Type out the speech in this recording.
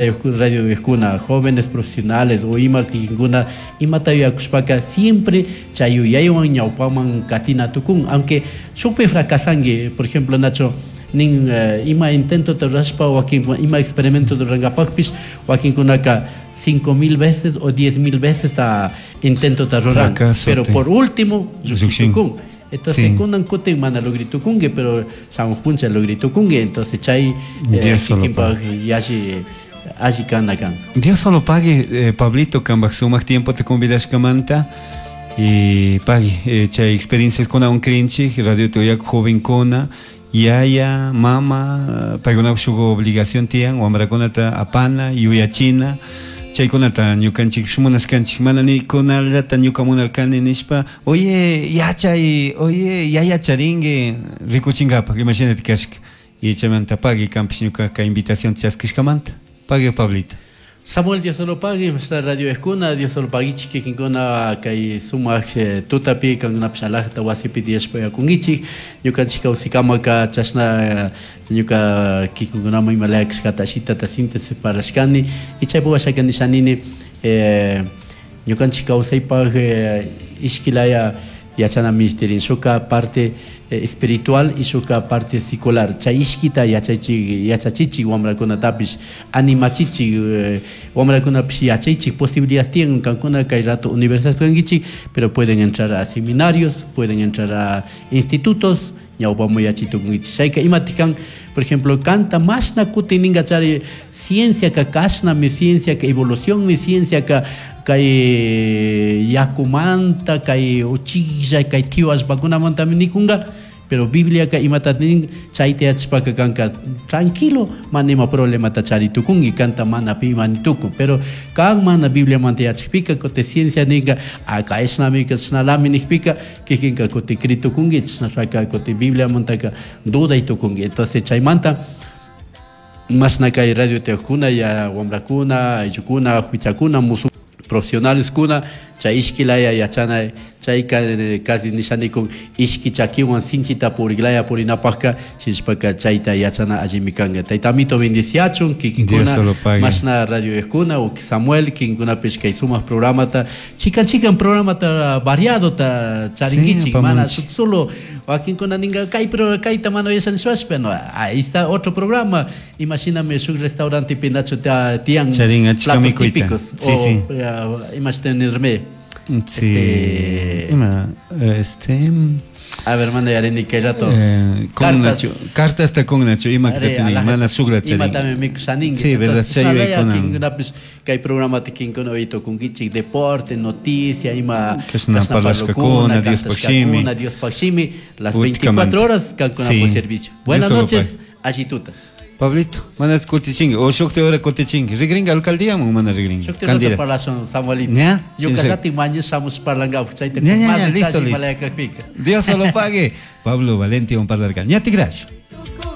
Radiokuna, jóvenes profesionales o ima kikinkuna imata yuyakushpaka siempre chay yuyaywan ñawpaman katina tukun, aunque shukpi fracasanki. Por ejemplo, nacho nin ima intentota rurashpa, wakin ima experimentota rurankapakpish, wakinkunaka 5000 veces o 10 000 veces ta intentota ruran, Fracaso pero por último llukshin. llukshitukun. Entonces kunan kutin mana logritukunki, pero shamuj puncha logritukunki. Entonces chay Dios solo kikinpak yalli alli kana kan. Dios solo pague, Pablito, kambaj sumak tiempo te convidashkamanta. Y pagui, chay experiencias kunawan krinchik, radio tuyak jovenkuna, yaya, mama, paykunapak shuk obligación tiyan, wamrakunata apana, yuyachina, chaykunata ñukanchik munashkanchik, mana ni kunallata ñuka munarkani nishpa, oye, yachay, oye, yaya charinki, rikuchinkapak, imashinati kashka. Y chaymanta pagui, kanpish ñuka kay invitación chaskishkamanta. Pagui, Pablito. Samuel, Dios solo pague, esta radio eskuna, Dios solo paguichik kikinkuna kay sumak tutapi kankunapish alajata wasipi tiyashpa yakunkichik. Ñukanchik kawsikamaka chashna ñuka kikinkunaman imalaya kashkata ashitata síntesis parlashkani y chaypi washaka nishanini ñukanchik kawsaypak ishkilaya yachana ministerin, shuka parte espiritual y shuka parte secular. Chay ishkita yachaychik, yachachichik wamrakunatapish, animachichik, wamrakunapish yachaychik. Posibilidad tienen kankuna kay rato universidad kankichik, pero pueden entrar a seminarios, pueden entrar a institutos, ñawpamu yachitukunkichik. Chayka imatik kan, por ejemplo, kanta mashna kutin ninka chari ciencia ka kashnami, ciencia ka evolucionmi, ciencia ka kay yakumanta, kay uchilla, kay tiwa allpakunamantami nikunka, pero Bibliaka imata nin, chayta yachashpaka kanka tranquilo, mana ima problemata chari tukunki, kanta mana pi ima ni tukun. Pero kan mana Bibliamanta yachakpika, kuti ciencia ninka, ah, kayshnami, kashnalami nikpika, kikinka kuti kri tukunki, chashnashpaka kuti Bibliamantaka duday tukunki. Entonces chaymanta mashna kay radio tiyakuna ya wamrakuna, ayllukuna, huichakuna, musu profesionales kuna chay ishkilaya yachana, chayka casi nishanikun ishki chakiwan sinchita puriklaya purinapakka, shinashpaka chayta yachana allimi kanka. Tayta Amito bendiciachun kikinkuna. Dios solo pague. Mashna radio eskuna u Samuel kikinkunapish kay sumak programata, chikan chikan programata variadota charinkichik, mana apamunchik. Suk solo wakinkuna ninka kay pro kayta mana yachanishpash, pero ahí está otro programa. Imashinami shuk restaurante nacho tiyan Charin achka platos mikuyta. típicos o imashta nirme. Ima, este, A ver, manda yarini kay rato. Con Cartas. Nacho, cartas ta con Nacho, ima Are, tini, mana sugla charin. Imatami mikushaninki. Sí, verdad, Entonces, chay chishnalaya yuyaykuna. kinkunapish kay programata kinkuna uytukunkichik, deporte, noticia, ima Kashna kashna parlashkakuna, parlukuna, Diospaj shimi. kantashkakuna, Diospaj shimi, las Utkamanta. 24 horas kankunapaj servicio. Buenas Dios solo noches, allituta. Pablito, mana kutichinki, o shukti hora kutichinki. Rigringa alcaldía o mana rigringa. Shukti rato Candida. parlashun, Samuelito. Ña? Ñuka Sí. llatin mañana shamush parlankapaj, chayta Ña, ña, más ña, detalle listo, listo. imalaya kakpika. Dios solo pague. Pablo Valente, un parlarga. Ña tigrash.